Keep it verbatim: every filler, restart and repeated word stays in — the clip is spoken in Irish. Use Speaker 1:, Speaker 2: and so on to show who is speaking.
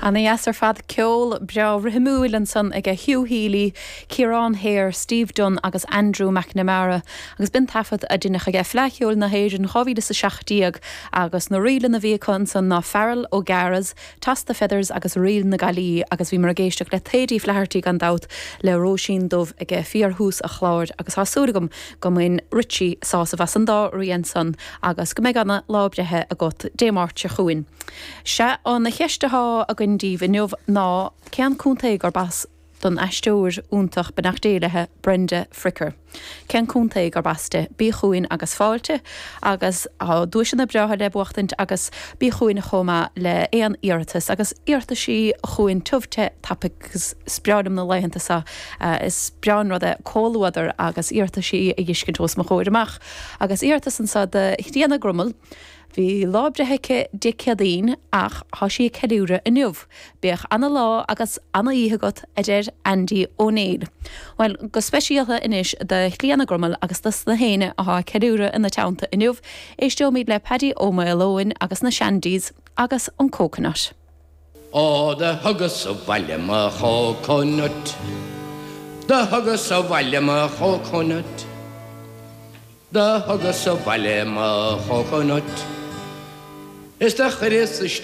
Speaker 1: Ana dheas ar fad ceol breá rithimiúil ansan ag Hugh Healy, Ciarán Hare, Steve Dunn agus Andrew McNamara, agus b'in taifead a deineadh ag Fleadh Cheoil na hÉireann dhá mhíle is a seacht déag agus na ríleanna a bhí acu ansan ná Farrell O'Gara's, Toss the Feathers agus Ríl na Gaillí agus bhíomar ag éisteacht le Thady Flaherty gan dabht le Róisín Dubh ag fíorthús an chláir agus tá súil agam go mbain Richie sásamh as an dá rian san agus go mbeidh ana lá breithe agat Dé Máirt seo chugainn. Sé an cheist atá againn daoibh inniu ná cén contae gurb as don aisteoir iontach beannacht Dé léi Brenda Fricker. Cén contae gurb as di bí chugainn agus fáilte agus tá duaiseanna breátha le buachtaint agus bí chugainn chomh maith le aon iarratas agus iarrataisí chugainn tiubh te tapaidh agus is breá liom na laethanta seo is breá an rud é comhluadar agus iarrataisí a fheiscint os mo chomhair amach agus iarratas anseo do Thríona Grummel. Bhí lá breithe aici Dé Céadaoin ach tá sí ag ceiliúradh inniu. Bíodh ana lá agus ana oíche agat a deir Andy O'Neill. Well go speisialta anois do Chlíona Grummel agus dos na héinne atá ag ceiliúradh ina teannta inniu, éisteoimid le Paddy Ó Maoileoin agus na Shandies agus an Coconut.
Speaker 2: Ó do thugas abhaile mo choconut, Do thugas abhaile mo choconut, Do thugas abhaile mo choconut. Is do chuireas isteach